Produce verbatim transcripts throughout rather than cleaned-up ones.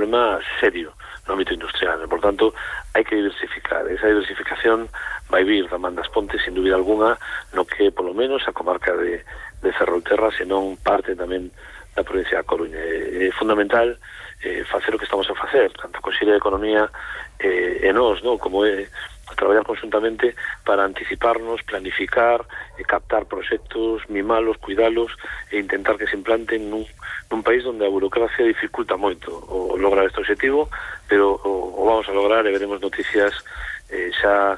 problema serio no ámbito industrial. Por tanto, hai que diversificar. Esa diversificación vai vir da man das Pontes, sin dúbida alguna, no que, polo menos, a comarca de, de Ferrolterra, senón parte tamén da provincia da Coruña. É, é fundamental eh, facer o que estamos a facer, tanto a Consellería de Economía eh, e nós, no? Como é traballar conjuntamente para anticiparnos, planificar, e captar proxectos, mimalos, cuidalos e intentar que se implanten nun, nun país onde a burocracia dificulta moito o lograr este objetivo, pero o, o vamos a lograr e veremos noticias eh, xa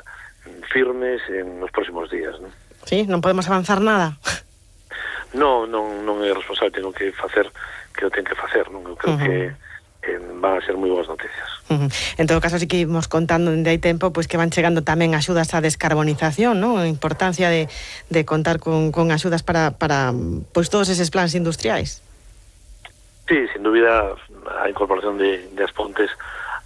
firmes en os próximos días, non? Sí, non podemos avanzar nada. Non, non, non é responsable, tengo que facer que o ten que facer, non? Eu creo uh-huh. que eh, van a ser moi boas noticias. Uh-huh. En todo caso, sí que íbamos contando dende hai tempo pois que van chegando tamén axudas á descarbonización, non? A importancia de, de contar con, con axudas para, para pois todos eses plans industriais. Sí, sin dúbida, a incorporación de, de as Pontes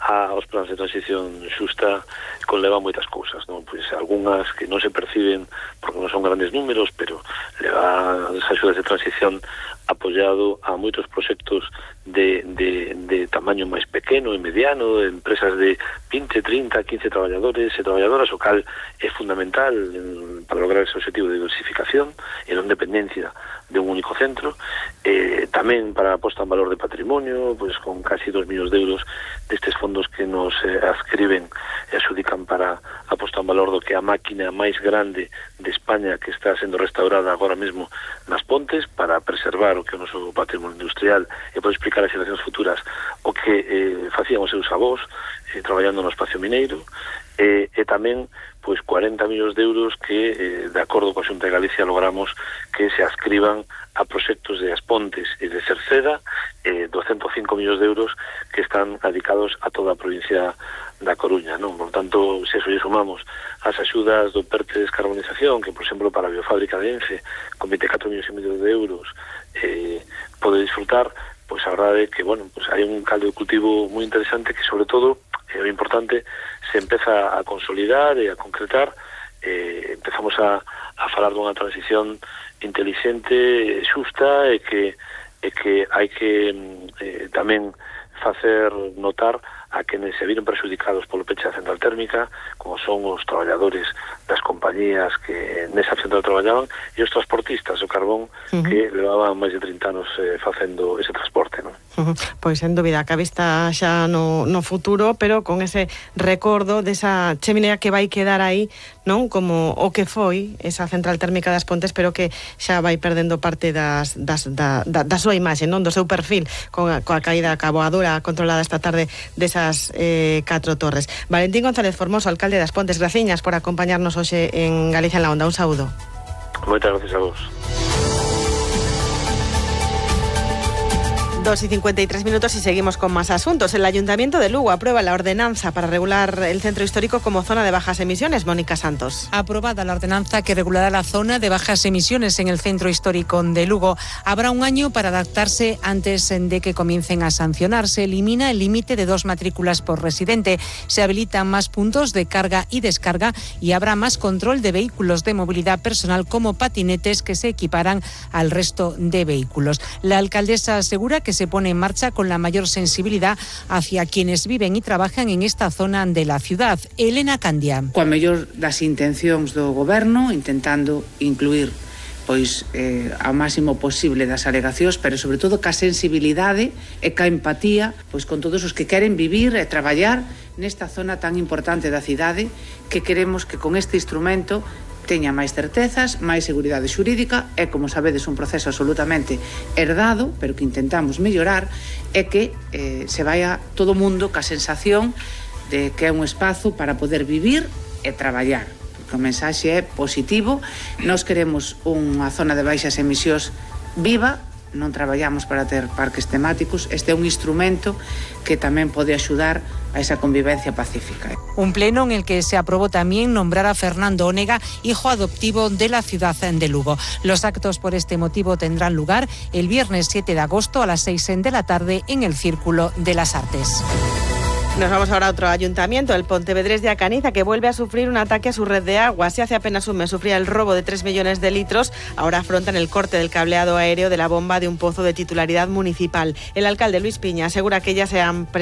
aos plans de transición xusta conleva moitas cousas, non? Pois algunhas que non se perciben porque non son grandes números, pero leva as axudas de transición apoiado a moitos proxectos de, de, de tamaño máis pequeno e mediano, de empresas de vinte, trinta, quince traballadores e traballadoras, o cal é fundamental en, para lograr ese objetivo de diversificación e non dependencia de un único centro. Eh, tamén para a posta en valor de patrimonio, pois con casi dos millóns de euros destes fondos que nos eh, adscriben e adxudican para a posta en valor do que é a máquina máis grande de España que está sendo restaurada agora mesmo nas Pontes para preservar o que é o noso patrimonio industrial e poder explicar as xeracións futuras o que eh, facían os seus avós eh, traballando no espacio mineiro. E, e tamén pois cuarenta millóns de euros que, eh, de acordo coa Xunta de Galicia, logramos que se adscriban a proxectos de As Pontes e de Cerceda, eh, doscientos cinco millóns de euros que están dedicados a toda a provincia da Coruña, non? Por tanto, se eso lle sumamos as axudas do P E R T de descarbonización, que, por exemplo, para a biofábrica de Ence, con vinte e catro millóns e medio de euros, eh, pode disfrutar, pois a verdade é que, bueno, pois hai un caldo de cultivo moi interesante que, sobre todo, é o importante, se empeza a consolidar e a concretar. Eh, empezamos a, a falar dunha transición inteligente, xusta, e que, e que hai que eh, tamén facer notar a quenes se viron perxudicados polo peche da central térmica, como son os traballadores das compañías que nesa central traballaban e os transportistas do carbón uh-huh. que levaban máis de trinta anos eh, facendo ese transporte, non? Uh-huh. Pois, sen dúbida, que a vista xa no, no futuro, pero con ese recordo desa cheminea que vai quedar aí, non? Como o que foi esa central térmica das Pontes, pero que xa vai perdendo parte das, das, da, da, da súa imaxe, non? Do seu perfil, con a, coa caída caboadura controlada esta tarde desas eh, catro torres. Valentín González Formoso, alcalde das Pontes, graciñas por acompañarnos hoxe en Galicia en la Onda. Un saúdo. Moitas gracias a vos. dos y cincuenta y tres minutos y seguimos con más asuntos. El Ayuntamiento de Lugo aprueba la ordenanza para regular el centro histórico como zona de bajas emisiones. Mónica Santos. Aprobada la ordenanza que regulará la zona de bajas emisiones en el centro histórico de Lugo. Habrá un año para adaptarse antes de que comiencen a sancionar. Se elimina el límite de dos matrículas por residente. Se habilitan más puntos de carga y descarga y habrá más control de vehículos de movilidad personal como patinetes que se equiparán al resto de vehículos. La alcaldesa asegura que se pone en marcha con la mayor sensibilidad hacia quienes viven y trabajan en esta zona de la ciudad. Elena Candia. Coa mellor das intencións do goberno, intentando incluir pois eh, ao máximo posible das alegacións, pero sobre todo ca sensibilidade e ca empatía pois con todos os que queren vivir e traballar nesta zona tan importante da cidade, que queremos que con este instrumento teña máis certezas, máis seguridade xurídica. É, como sabedes, un proceso absolutamente herdado, pero que intentamos mellorar, e que eh, se vaya todo o mundo ca sensación de que é un espazo para poder vivir e traballar. Porque o mensaxe é positivo. Nós queremos unha zona de baixas emisións viva, non traballamos para ter parques temáticos. Este é un instrumento que tamén pode axudar a esa convivencia pacífica. Un pleno en el que se aprobó también nombrar a Fernando Onega, hijo adoptivo de la ciudad de Lugo. Los actos por este motivo tendrán lugar el viernes siete de agosto a las seis de la tarde en el Círculo de las Artes. Nos vamos ahora a otro ayuntamiento, el Pontevedrés de Acaniza, que vuelve a sufrir un ataque a su red de agua. Si hace apenas un mes sufría el robo de tres millones de litros, ahora afrontan el corte del cableado aéreo de la bomba de un pozo de titularidad municipal. El alcalde Luis Piña asegura que ya se han presentado